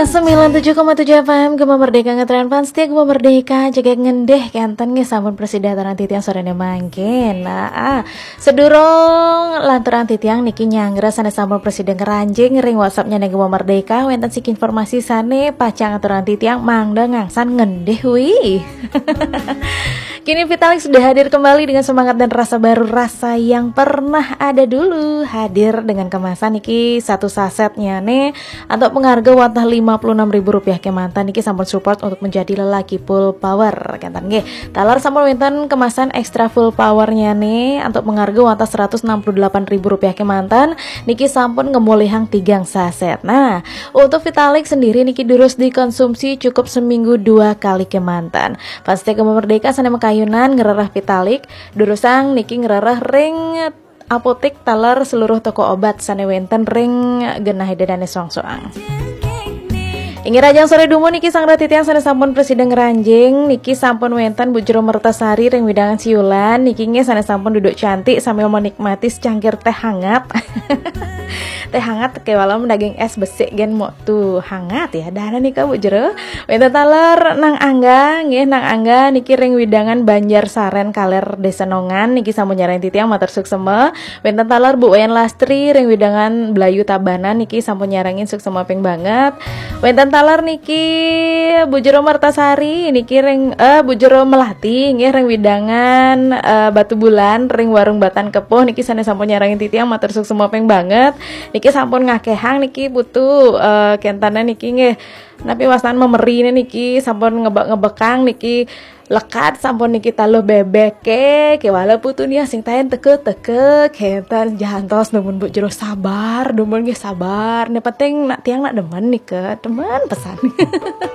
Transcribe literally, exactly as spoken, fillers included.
Sembilan tujuh koma tujuh F M Gema Merdeka, ngetren fans setia Gema Merdeka, jegeg ngendih kenten nggih sampun prasida aturang titiang sorene mangkin. Nah, ah, sedurung lanturang titiang niki nyanggra sane sampun prasida ngranjing ring WhatsApp-nyane Gema Merdeka, wenten siki informasi sane pacang aturang titiang mangda ngangsan ngendih wi. Kini Vitalik sudah hadir kembali dengan semangat dan rasa baru, rasa yang pernah ada dulu. Hadir dengan kemasan niki satu sasetnya nih, antuk pengarga wantah lima puluh enam ribu rupiah kemanten niki sampun support untuk menjadi lelaki full power. Kenten nggih. Taler sampun wenten kemasan extra full powernya nih, antuk pengarga wantah seratus enam puluh delapan ribu rupiah kemanten niki sampun ngemulihang tigang saset. Nah, untuk Vitalik sendiri niki durus dikonsumsi cukup seminggu dua kali kemanten. Pasti Gema Merdeka sane makayunan ngrereh Vitalik, durusang niki ngrereh ring apotek taler seluruh toko obat sane wenten ring genah ida dane soang-soang. Inggih, rahajeng sore dumun niki sang titiang sane sampun prasida ngranjing niki sampun wenten Bu Jero Mertasari ring wewidangan Siulan niki nggih sane sampun duduk cantik sambil menikmati secangkir teh hangat. Teh hangat kewala daging es besik gen mok tuh hangat ya. Dana nika Bu Jero. Wenten taler Nang Angga, nggih Nang Angga niki ring wewidangan Banjar Saren Kaler Desa Nongan niki sampun nyarengin titiang matur suksema. Wenten taler Bu Wayan Lastri ring wewidangan Blayu Tabanan niki sampun nyarengin suksema ping banget. Wenten taler niki Bu Jero Mertasari niki ring eh Bu Jero Melati nggih ring wewidangan eh, Batu Bulan ring Warung Batan Kepuh niki sane sampun nyarengin titiang matur suksema ping banget. Niki sampun ngakehang niki putu eh, kentane niki nggih. Napi wastan memerine niki sampun ngebek-ngebekang niki lekat sampun niki taluh bebek ke kewala putu nia sing taen teke-teke kenten jantos dumun Bu Jero sabar dumun nggih sabar. Ne penting nak tiang nak demen nika demen pesan.